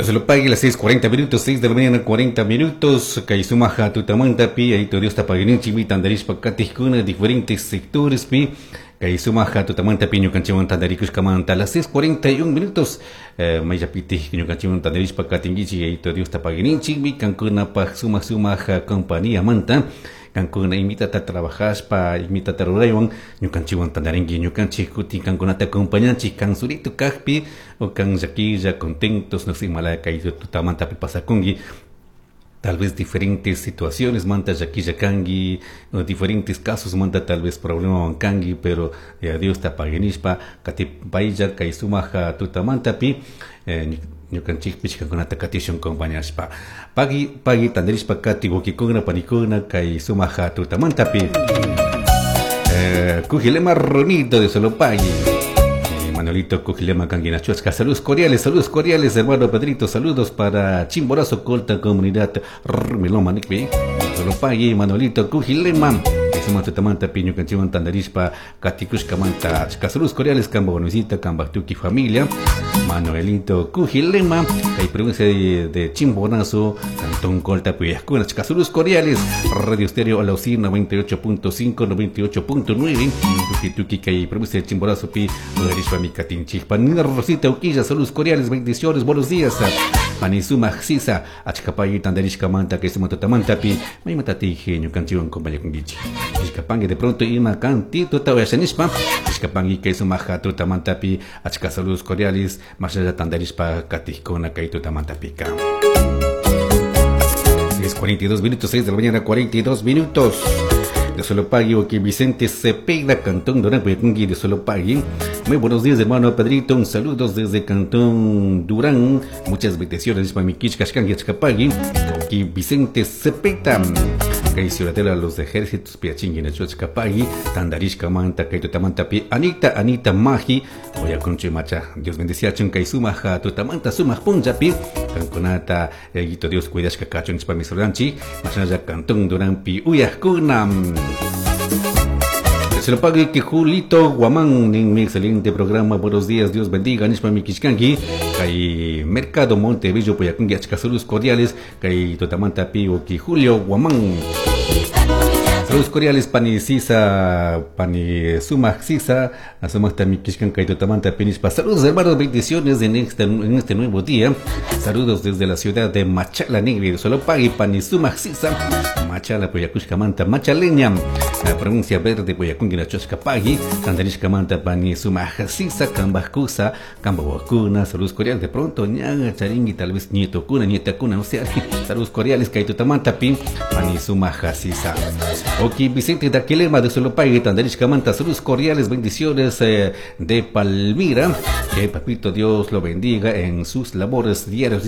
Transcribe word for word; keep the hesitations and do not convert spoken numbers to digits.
Se lo pague las seis cuarenta minutos, seis de la mañana cuarenta minutos. Kay sumaja tutamanta pi, Yayito Diosta paguininchik tandarishpa katijkuna diferentes sectores pi. Kay sumaja tutamanta pi ñukanchikwan tandarikushkamanta las seis cuarenta y un minutos. Eh, mayllapiti ñukanchikwan tandarishpa katinkichik, Yayito Diosta paguininchik kankunapaj sumaj sumaja compañía manta. Kankuna imitata trabajashpa, imitata ruraywan ñukanchikwan tandarinki, ñukanchik kutin kankunata acompañanchik kan surito kajpi o kan llaquilla, contentos, no sé, mala kay tutamanta pi pasakunki. Tal vez diferentes situaciones manta llaquilla kanki, o diferentes casos manta tal vez problema kanki, pero eh, Diosta paguinishpa katipaylla kay sumaja tutamanta pi eh, ñukanchikpish kankunata katishun acompañashpa. Pagui pagui tandarishpa kati wawkikuna panikuna kay sumaja tutamantapi. eh, Cujilema Ronito de Solopagui, eh, Manuelito Cujilema Canguinachuasca, saludos cordiales, saludos cordiales, hermano Pedrito, saludos para Chimborazo, Colta, comunidad Rumiloma, Nikpi, Solopagui, Manuelito Cujilema. Tutamanta pi ñukanchikwan tandarishpa katikushkamanta saludos cordiales kamba buenosita kamba tuki familia Manuelito Cujilema kay provincia de, de Chimborazo, Cantón Colta, Puyascuna. Saludos cordiales, Radio Estéreo Alausí noventa y ocho punto cinco, noventa y ocho punto nueve, tuki tuki kay provincia de Chimborazo pi uyarishpa mi katinchik. Panina Rosita Uquilla, saludos cordiales, bendiciones, buenos días. Panisuma Sisa, achka pagui tandarishkamanta kay suma tutamanta pi maymatati ñukanchikwan compañakunkichik. Ishkapangi de pronto ima cantito tawashanishpa ishkapangi kay sumaja tutamantapi achka saludos cordiales masalla tandarishpa katijkuna kay tutamantapika. seis cuarenta y dos minutos, seis de la mañana cuarenta y dos minutos. De Solopagui, que Vicente Cepeda, Cantón Durán, de Solopagui. Muy buenos días, hermano Pedrito. Un saludos desde Cantón Durán. Muchas bendiciones para mi Kishkashkan y Achkapagui. Vicente Cepeda. Kay Ciudadela los ejércitos piachingui na Achkapagui. Tandarishka manta kay tutamanta pi Anita Anita Maji. Oya conche macha. Dios bendicia chun kay sumaja tutamanta sumaj punllapi. Kankunata Yayito Dios cuidashka kachun nishpa misuranchi. Mashnalla Cantón Durán pi uyajkuna. Se lo pague que Julito Guamán en mi excelente programa. Buenos días, Dios bendiga. Nishpa mi kishkanki. Kay Mercado Montebello Puyakungi achka saludos cordiales. Kay tutamanta pi ki Julio Guamán. Saludos cordiales pani Sisa, pani Sumaj Sisa, Sumaj mi kishkan kay tutamanta pi nishpa. Saludos, hermanos, bendiciones en este, en este nuevo día. Saludos desde la ciudad de Machala Negri, solo pagui pani Sumaj Sisa. Machala Puyakushkamanta, Machaleña, la provincia verde Puyacungi Nachoshka pagui, Tandarishkamanta pani Sumaj Sisa, Kambakusa, Kambawakuna, saludos cordiales. De pronto, ñaga, charingui, tal vez nieto kuna, nieta kuna, no sé, saludos cordiales, Kaitutamanta pi, pani Sumaj Sisa. Ok, Vicente Daquilema de Solopagui, Tandarishkamanta, saludos cordiales, bendiciones eh, de Palmira. Que papito Dios lo bendiga en sus labores diarios.